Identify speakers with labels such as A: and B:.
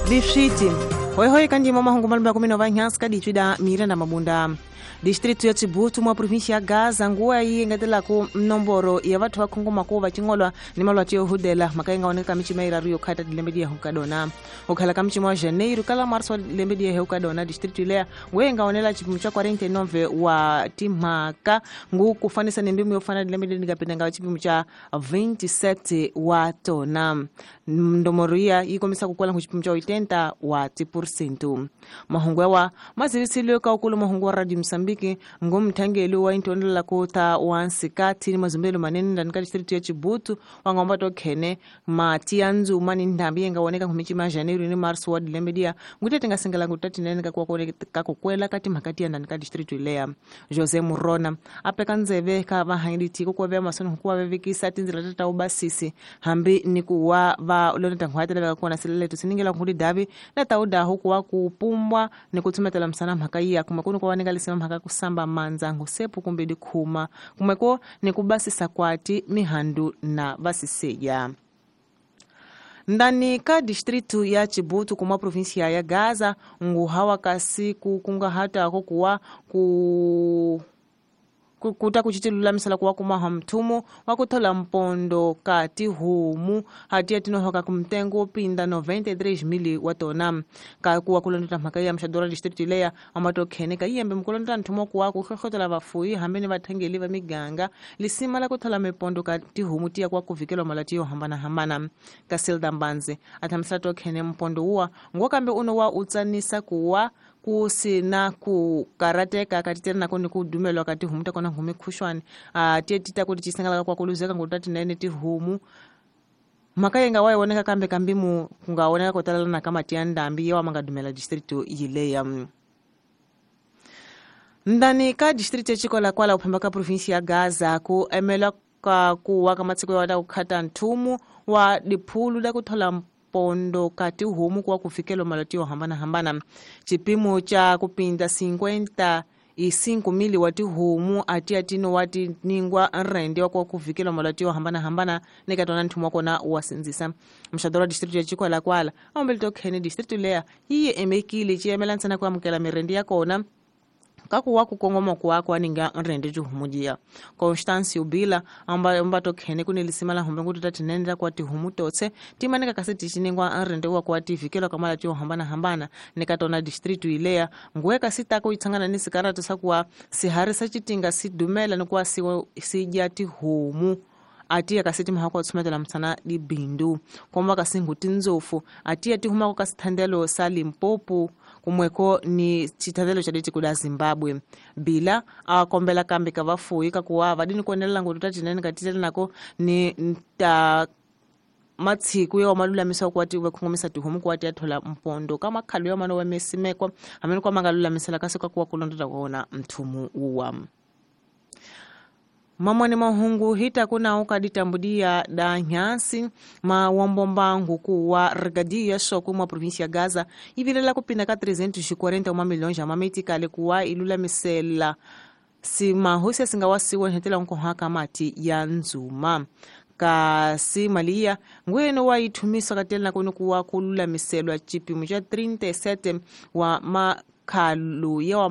A: Liswiti hoihoi kandima mahungu malumba kumi nova nhansi kaditswida Miranda Mabunda. Distrito ya Chibutu mwa província ya Gaza nguwa yi engetelaku nomboro ya vathu va khongomako va cingolwa ni malwati yo hudela mhaka yi nga oneka micima yiraru yo khata dilembe diya ka dona u khala ka micima wa janeiro kala marso wa lembe diya ka dona distrito leya nguwa yi nga onela xipimo xa 49 wa timhaka ngu ku fanisa ni mbimu yo fana dilembe leri nga penda nga xipimo xa 27 wa tona ndomoro iya yi kombisa ku kwala ku xipimo xa 80 wa tipursentu mahungu yawa ma zivisile ka ukulu mahungu wa Radio Mozambique ngomthangeli wa intonela kota wa nsikati ni mazumbelo manene ndani ka district ya Chibutu wa ngomba to khene mati ya ndzuma ni ndhambi yi nga voneka nkhumichi ma Janeiro ni Marso wa dilembe diya ngute tinga singela ngutatinene ka ka ku kwela ka timhaka tiya ndani ka district leya José Murona a peka ndzeve ka vahanyeli tiko ku va masoni ku va vevekisa tindzila ta ubasisi hambi ni ku wa va loneta nghwati lava kona sileleto siningela nkuli davi na ta udaho ku wa ku pumbwa ni ku tsumetela msana mhaka iya kumwe ku ni ku va ninga lisima mhaka kusamba mandza ngusepu kumbe dikhuma kumwe ko ni ku basisa kwati mihandu na vasiseya. Ndani ka distrito ya Chibutu kuma província ya Gaza nguhawa kasi kungahata ko kuwa ku kuta kuchitilulamisela kuwa kumaha mthumu wa kuthola mpondo ka tihomu hatiya tinohoka kumtengo pinda 93,000 wa tona ka kuwa kulondota mhaka ya mxadora district leya amatokhene ka yiyembe mkulondota nthumu kuwa ku hlohlotela vafuyi hambi ni vathengeli va miganga lisima la kuthola mipondo ka tihomu tiya kuwa kuvikelwa malati yo hambanahambana ka Silda Mbanzi athamisela tokhene mpondo uwa ngokambe uno wa utsanisa kuwa ku sina ku karateka katitela nako ni ku dumelwa ka tihomu ta kona ngumi khushwani a tiye tita kuti chisangala kwa kuluzeka ngutati nene tihomu mhaka yi nga wa yi voneka kambe kambimu ku nga voneka ko talelana ka mati ya ndhambi yawa ma nga dumela district yileya. Ndani ka district ya Chikwalakwala ku phamba ka província ya Gaza ku emela ka ku wa ka matiko ya ku khata nthumu wa diphulu la ku thola pondo ka tihomu kuwa kufikela malati yo hambanahambana chipimo cha kupinda 55,000 wa tihomu atiya tino wa tiningwa nrende wa kuwa kufikela malati yo hambanahambana neka tona nthumu wa kona wa sindzisa mxadoro wa district ya Chikwalakwala aombele tokhene district leya yi emekile ci yemela ntsena ku amukela mirende ya kona kakuwa kukongoma kuwako aninga nrende tihomu diya Constâncio Bila amba tokhene kuni lisima la hombe nguti tatinenela kwa tihomu totse timaneka kasi ticiningwa nrende wa kwa tivikelwa kamala tiyo hambanahambana nikatona distritu ileya nguwe kasi tako itsangana ni sikaratu sakuwa sihari sa citinga sidumela nikuwa sidya tihomu atiya kasi timhaka wa tsumetela msana dibindu komba kasi nguti ndzofu atiya tihumako kasi thandelo sa Limpopo kumweko ni chithandelo cha ditiko la Zimbabwe bila akombela kambe ka vafuyi ka kuwa vadini kuonelela ngutu tatinene katitela nako ni ta matsiku ya malulamisa kwa ti vakhongomisa tihomu kwa ti ya thola mpondo ka makhalo ya mano wa mesimekwa hamene kwa mangalulamisela kasi ka kuwa kulondota kona mthumu uwa. Mamwani mahungu hita kuna uka ditambudia da nyansi ma wambomba nguku wa regadia soko mwa província ya Gaza ivilela kupinda ka 341 milhões ya mametikale kuwa ilulamisela si mahosi singawasiwa hetela nkohaka mati ya nzuma kasi malia ngweno wa ithumisa katela kono kuwa kululamiselwa chipimo cha 37 wa makhalu ya wa